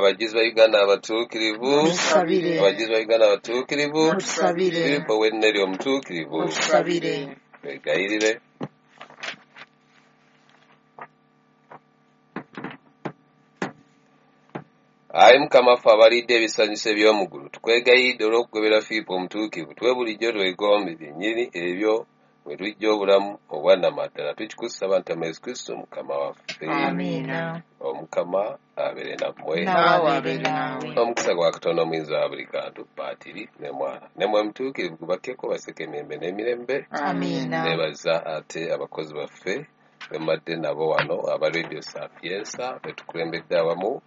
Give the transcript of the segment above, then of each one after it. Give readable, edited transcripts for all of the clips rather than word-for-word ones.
Abajulizi ba Uganda abatuukirivu. Mutusabire. Abajulizi ba Uganda abatuukirivu. Mutusabire. Filipo w'Enneri omutuukirivu. Mutusabire. Twegayirire. Ayi Mukama ffe abalidde ebisanyuso eby'omu ggulu, tukwegayiridde olw'okugobera Firipo omutuukirivu, tuwe bulijjo twegombe byennyini ebyo mwe tujja obulamu obwannamaddala. Tukikusaba nti mu Yesu Kristo Mukama waffe. Amiina. Omukama abeere nammwe. Naawe abeere naawe. Omukisa gwa Katonda omuyinza wa buli kantu, Patiri ne Mwana ne Mwoyo Mutuukirivu gubakkeko baseke emirembe n'emirembe. Amiina. Neebaza ate abakozi baffe bemmadde nabo wano aba Radio Sapiensa betukulembedde awamu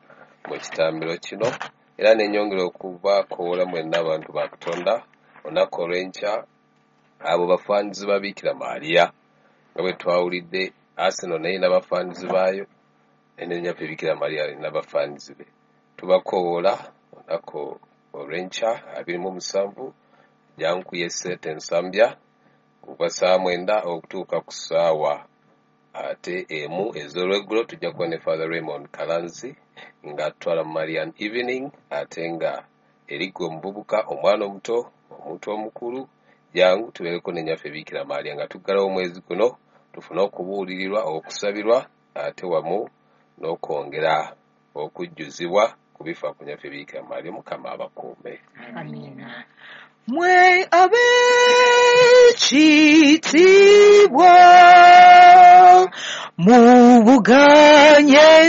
mu kitambiro kino, era nenyongera okubakoola mwenna abantu ba Katonda olunaku olw'enkya abo bafaanizi ba Biikira Maria nga bwe twawulidde Arsenal naye n'abafaanizi baayo ne nnyaffe Biikira Maria alina abafaanizi be. Tubakowoola olunaku olw'enkya 27 jankuye Sente Nsambya kuva ssaawa 9 okutuuka ku ssaawa ate 1 ez'olweggulo. Tujja kuba ne Father Raymond Kalanzi ng'atutwala mu Marian Evening, ate nga erigwe omuvubuka, omwana omuto, omuntu omukulu, jangu tubeereko ne nnyaffe Biikira Maria nga tuggalawo omwezi guno, tufune okubuulirirwa, okusabirwa, ate wamu n'okwongera okujjuzibwa ku bifa ku nnyaffe Biikira Maria. Mukama abakuume. Amiina. Mwe ab'ekitiibwa mubuganye.